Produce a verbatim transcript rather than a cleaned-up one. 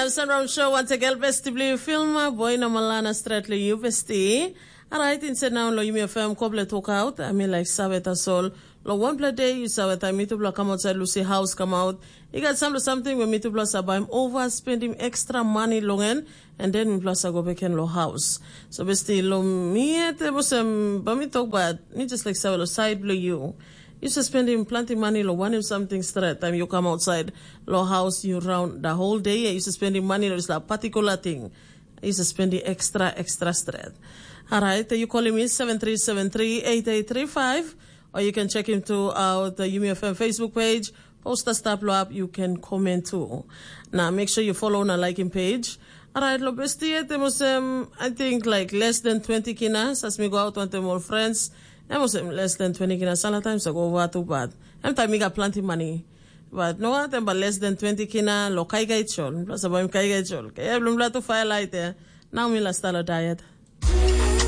Em Sunround Show wantegel besti bilong yu filma boi na malana stret long yu besti. Alright, insait nau long yumi FM koble tokaut, ami laik save tasol. Long wanpela de yu save taim mitupela kam ausait lusi haus kam aut, i gat sampela samting we mitupela sa baim ova spendim ekstra mani long en, and then mitupela sa go beken long haus. So besti long mi yet em olsem, ba mi tok bat, mi just laik save long sait bilong yu. Yu sa spendim planti mani long wanem samting stret taim yu kam ausait long haus yu raun da whole day, yu sa spendim mani long dispela patikula ting. Yu sa spendim ekstra ekstra stret. Alright, you calling me seven three seven three eight eight three five, or you can check him to out the Yumi FM Facebook page. Posta stap lo up, you can comment too. Now make sure you follow na like him page. Alright, lo besti yet em olsem, I think like less than twenty kinas as mi go out wantem all friends. Em olsem less than twenty kinas, sana times I go over too bad. Em time mi got plenty money. But no one them but less than twenty kina lo kai kai chol. Plus about kai kai chol. Kaya blum bla tu fire light there. Now mi la stalo diet.